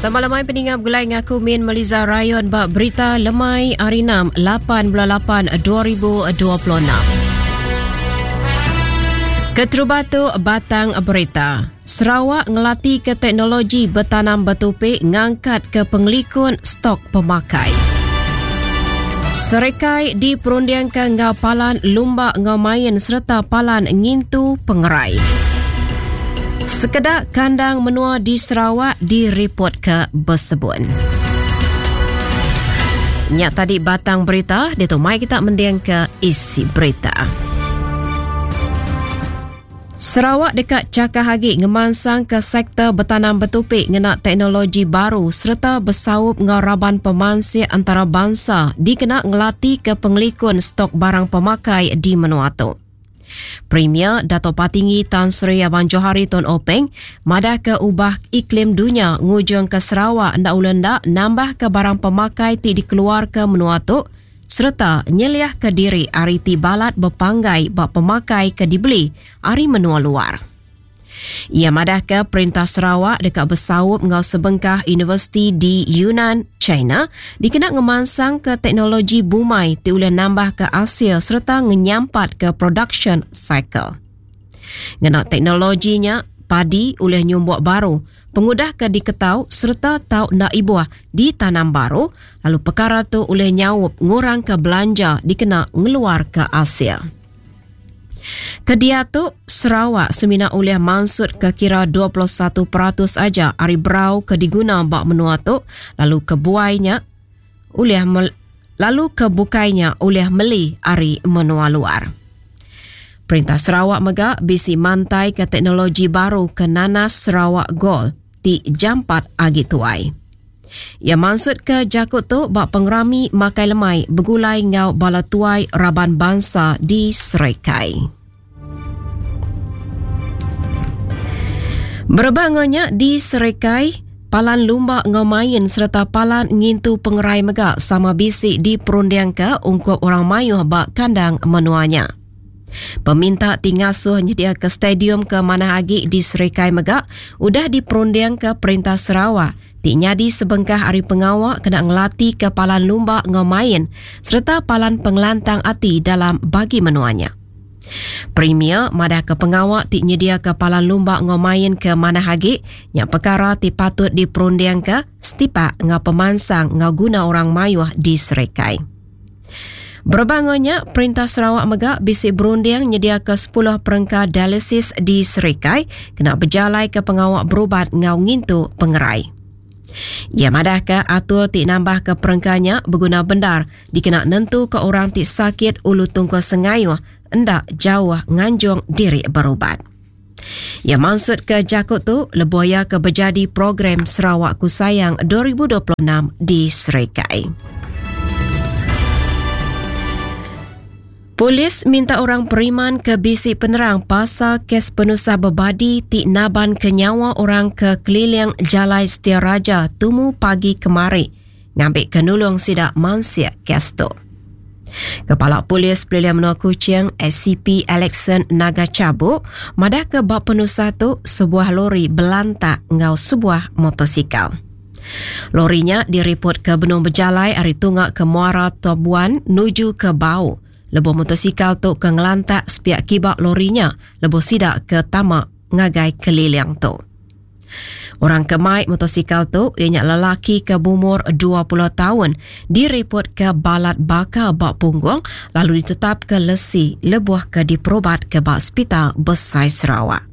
Sama lemai peninga begulai ngaku Min Meliza Rayon ba berita lemai hari 6 8 bulan 8 2026. Keterubah tu batang berita. Sarawak ngelati ke teknologi betanam betupi ngangkat ke pengelikun stok pemakai. Serekai diperundingka enggau palan lumba enggau main sereta palan ngintu pengerai. Sekeda kandang menua di Sarawak diripotka besebun. Nya tadi batang berita, ditu mai kita mendingka isi berita. Sarawak deka chakah agi ngemansangka sektor betanam betupi ngena teknologi baru sereta besaup enggau raban pemansik antarabansa dikena ngelatika pengelikun stok barang pemakai di menua tu. Premier Datuk Patinggi Tan Sri Abang Johari Tun Openg madahka ubah iklim dunya ngujungka Sarawak enda ulih enda nambahka barang pemakai ti dikeluarka menua tu sereta nyeliahka diri ari ti balat bepanggai ba pemakai ke dibeli ari menua luar. Iya madahka Perintah Sarawak deka besaup enggau sebengkah universiti di Yunnan, China dikena ngemansangka teknologi bumai ti ulih nambahka asil sereta ngenyampatka production cycle. Ngena teknologi nya, padi ulih nyumbuk baru pengudah ke diketau sereta tau enda ibuh ditanam baru lalu pekara tu ulih nyaup ngurangka belanja dikena ngeluarka asil. Ke diatu, Sarawak semina ulih mansutka kira 21% aja ari berau ke diguna ba menua tu lalu ke buai nya ulih lalu ke bukai nya ulih meli ari menua luar. Perintah Sarawak mega bisi mantaika teknologi baru ke nanas Sarawak Gold ti jampat agi tuai. Iya mansutka jaku tu ba pengerami makai lemai begulai enggau bala tuai raban bansa di Serikai. Berebak enggau nya di Serikai, palan lumba enggau main sereta palan ngintu pengerai mega sama bisi diperundingka ungkup orang mayuh ba kandang menua nya. Peminta ti ngasuh nyediaka stadium ke manah agi di Serikai mega udah diperundingka Perintah Sarawak ti nyadi sebengkah ari pengawa kena ngelatika palan lumba enggau main sereta palan pengelantang ati dalam bagi menua nya. Premier madahka pengawa ti nyediaka palan lumba enggau main ke manah agi nya pekara ti patut diperundingka setipak enggau pemansang enggau guna orang mayuh di Serikai. Berebak enggau nya, Perintah Sarawak mega bisi berunding nyediaka sepuluh perengka dialisis di Serikai kena bejalaika pengawa berubat enggau ngintu pengerai. Iya madahka atur ti nambahka perengka nya beguna bendar dikena nentuka orang ti sakit ulu tungkul sengayuh enda jauh nganjung diri berubat. Iya mansutka jaku tu lebuh iya ke bejadi program Sarawakku Sayang 2026 di Serikai. Polis minta orang periman ke bisi penerang pasal kes penusah bebadi ti naban ke nyawa orang ke keliling Jalai Setia Raja tumu pagi kemari ngambika nulung sida mansik kes tu. Kepala Polis Pelilih Menua Kuching SCP Alexson Naga Chabuk madahka ba penusah tu sebuah lori belantak enggau sebuah motosikal. Lori nya diripotka benung bejalai ari tunga ke Muara Tobuan nuju ke Bau lebuh motosikal tu ke ngelantak sepiak kiba lori nya lebuh sida ke tama ngagai keliling tu. Orang ke mai motosikal tu iya nya lelaki ke beumur 20 taun diripotka balat bakal ba punggung lalu ditetapka lesi lebuh ke diperubatka ba Sepital Besai Sarawak.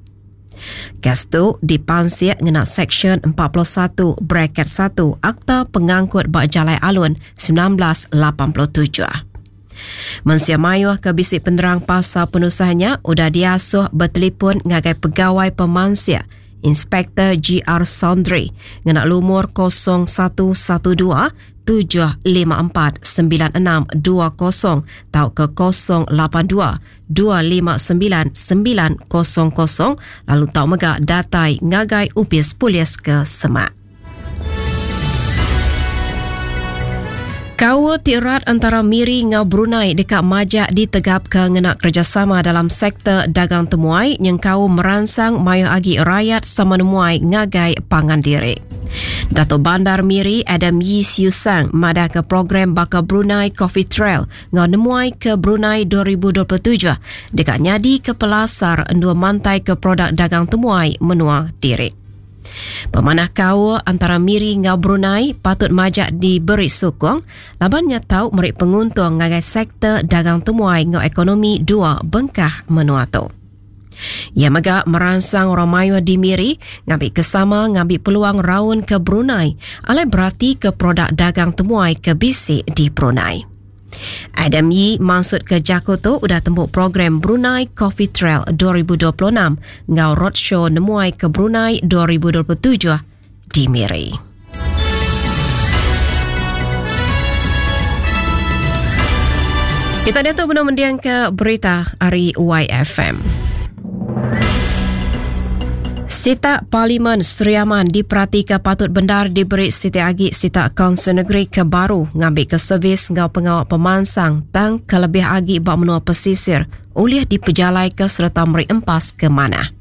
Kes tu dipansik ngena Seksyen 41 bracket 1 Akta Pengangkut ba Jalai Alun 1987. Mensia mayuh ke bisi penerang pasal penusah nya udah diasuh betelipun ngagai pegawai pemansik Inspektor GR Saundry ngena lumur 0112 754 9620 tauka 082 259 900 lalu tau mega datai ngagai opis polis ke semak. Kaul ti rat entara Miri enggau Brunei deka majak ditegapka ngena kerejasama dalam sektor dagang temuai nyengkaum meransang mayuh agi rayat sama nemuai ngagai pangan diri. Datuk Bandar Miri Adam Yii Siew Sang madahka program baka Brunei Coffee Trail enggau Nemuai ke Brunei 2027 deka nyadika pelasar endur mantaika produk dagang temuai menua diri. Pemanah kaul antara Miri enggau Brunei patut majak diberi sukung laban nya tau meri penguntung ngagai sektor dagang temuai enggau ekonomi dua bengkah menua tu. Iya mega meransang orang mayuh di Miri ngambika sama ngambi peluang raun ke Brunei alai beratika produk dagang temuai ke bisi di Brunei. Adam Yii mansutka jaku tu udah tembu program Brunei Coffee Trail 2026 enggau Roadshow Nemuai ke Brunei 2027 di Miri. Kita diatu benung mendingka berita ari YFM. Sitak Parlimen Sri Aman diperatika patut bendar diberi siti agi sitak Kaunsil Negeri ke baru ngambika servis enggau pengawa pemansang tang kelebih agi ba menua pesisir ulih dipejalaika sereta meri empas ke manah.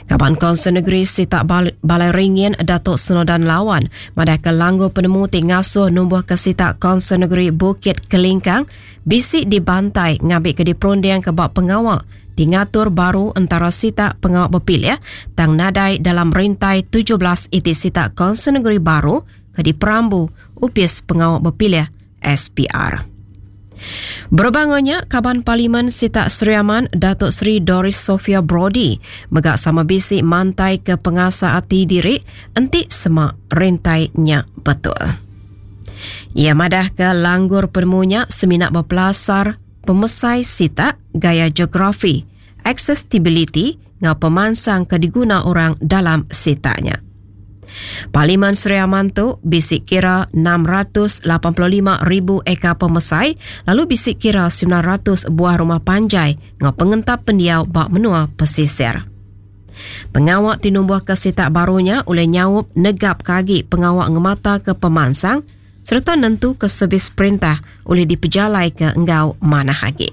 Kaban Kaunsil Negeri Sitak Balai Ringin Datuk Snowdan Lawan madahka langgur penemu ti ngasuh numbuhka sitak Kaunsil Negeri Bukit Kelingkang bisi dibantai ngambika diperundingka ba pengawa ti ngatur baru entara sitak pengawa bepilih tang nadai dalam rintai 17 iti sitak Kaunsil Negeri baru ke diperambu Opis Pengawa Bepilih SPR. Berebak enggau nya, Kaban Parlimen Sitak Sri Aman Datuk Seri Doris Sophia Brodie mega sama bisi mantai ke pengasa ati diri enti sema rintai nya betul. Iya madahka langgur penemu nya semina bepelasar pemesai sitak, gaya geografi, aksestibiliti enggau pemansang ke diguna orang dalam sitak nya. Parlimen Sri Aman tu bisi kira 685,000 ekar pemesai lalu bisi kira 900 buah rumah panjai enggau pengentap pendiau ba menua pesisir. Pengawa ti numbuhka sitak baru nya ulih nyaup negapka agi pengawa ngemataka pemansang sereta nentuka servis perintah ulih dipejalaika enggau manah agi.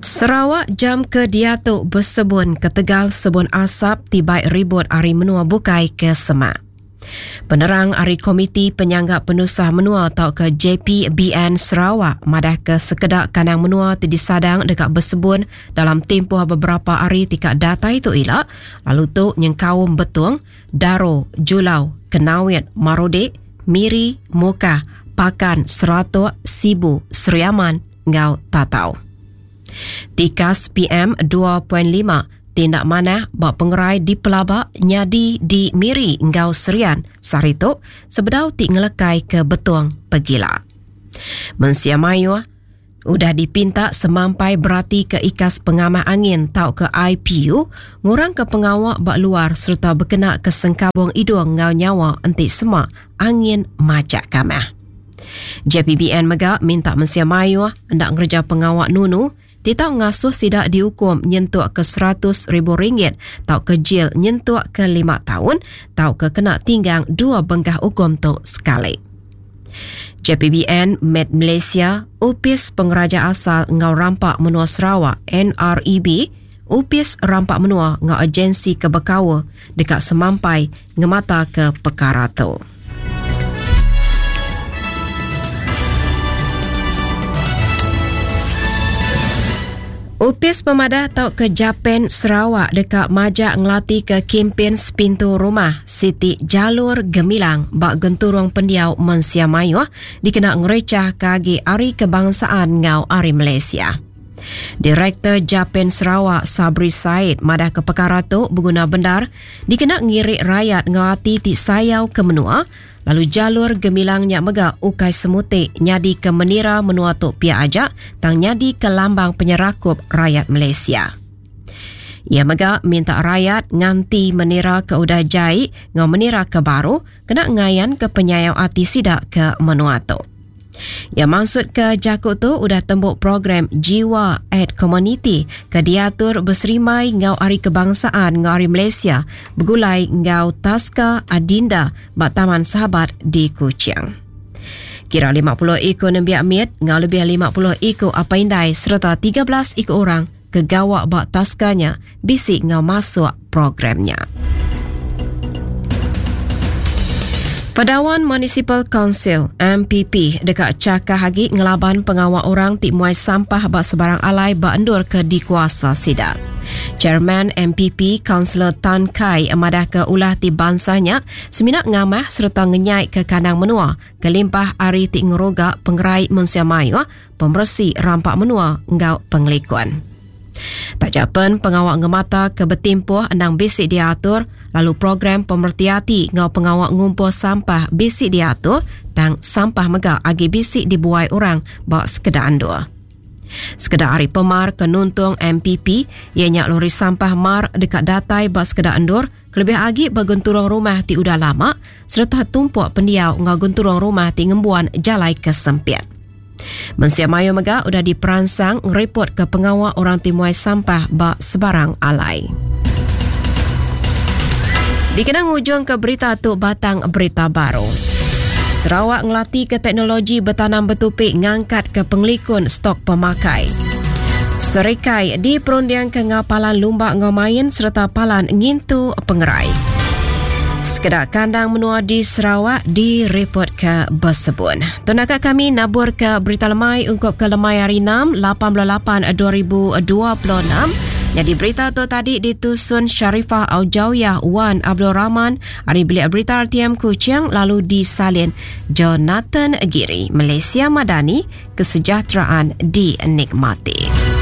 Sarawak jam ke diatu besebun ketegal sebun asap ti bai ribut ari menua bukai ke semak. Penerang ari Komiti Penyangga Penusah Menua tauka JPBN Sarawak madahka sekeda kandang menua ti disadang deka besebun dalam timpuh beberapa hari ti ka datai tu ila lalu tu nyengkaum Betong, Daro, Julau, Kenawit, Marudi, Miri, Mukah, Pakan, Seratok, Sibu, Sri Aman enggau Tatau. Tikas PM 2.5 ti enda manah ba pengerai dipelaba nyadi di Miri enggau Serian sehari tu sebedau ti ngelekai ke Betong pegila. Mensia mayuh udah dipinta semampai beratika ikas pengamah angin tauka IPU ngurangka pengawa ba luar sereta bekenaka sengkabung idung enggau nyawa enti sema angin majak kamah. JPBN mega minta mensia mayuh enda ngereja pengawa nunu ti tau ngasuh sida diukum nyentuk ke 100 ribu ringgit tauka jil nyentuk ke lima taun tauka kena tinggang dua bengkah ukum tu sekali. JPBN Med Malaysia, Opis Pengeraja Asal enggau Rampa Menua Sarawak, NREB, Opis Rampa Menua enggau agensi ke bekaul deka semampai ngemataka pekara tu. Opis Pemadah tauka Japen Sarawak deka majak ngelatika kimpin Sepintu Rumah Siti Jalur Gemilang ba genturung pendiau mensia mayuh dikena ngerechahka agi Hari Kebangsaan enggau Hari Malaysia. Direktor Japen Sarawak Sabri Said madahka pekara tu beguna bendar dikena ngiri rayat enggau ati ti sayau ke menua lalu jalur gemilang nya mega ukai semuti nyadika menira menua tu pia aja tang nyadika lambang penyerakup rayat Malaysia. Iya mega minta rayat nganti menira ke udah jai enggau menira ke baru kena ngayanka penyayau ati sida ke menua tu. Iya mansutka jaku tu udah tembu program Jiwa at Community ke diatur beserimbai enggau Hari Kebangsaan enggau Hari Malaysia begulai enggau Taska Adinda ba Taman Sahabat di Kuching. Kira 50 iku nembiak mit enggau lebih 50 iku apai indai sereta 13 iku orang ke gawa ba taska nya bisi enggau masuk program nya. Padawan Municipal Council, MPP, deka chakah agi ngelaban pengawa orang ti muai sampah ba sebarang alai ba endur ke dikuasa sida. Chairman MPP, Kaunsilor Tan Kai madahka ulah ti bansa nya semina ngamah sereta ngenyaika kandang menua kelimpah ari ti ngeruga pengerai mensia mayuh, pemeresi rampa menua enggau pengelikun. Taja pen pengawa ngemata ke betimpuh endang bisi diatur lalu program pemereti ati enggau pengawa ngumpul sampah bisi diatur tang sampah mega agi bisi dibuai orang ba sekeda endur. Sekeda ari pemar ke nuntung MPP iya nya lori sampah mar deka datai ba sekeda endur kelebih agi ba genturung rumah ti udah lama sereta tumpuk pendiau enggau genturung rumah ti ngembuan jalai ke sempit. Mensia mayuh mega udah diperansang ngeripotka pengawa orang ti muai sampah ba sebarang alai. Dikena ngujungka berita tu batang berita baru. Sarawak ngelatika teknologi betanam betupi ngangkatka pengelikun stok pemakai. Serikai diperundingka enggau palan lumba enggau main sereta palan ngintu pengerai. Sekeda kandang menua di Sarawak direpotka besebun. Tu naka kami naburka berita lemai ungkup ke lemai hari 6, 88 2026. Nyadi berita tu tadi ditusun Sharifah Aujawiyah Wan Abdul Rahman ari Bilik Berita RTM Kuching lalu disalin Jonathan Giri. Malaysia Madani, kesejahteraan dinikmati.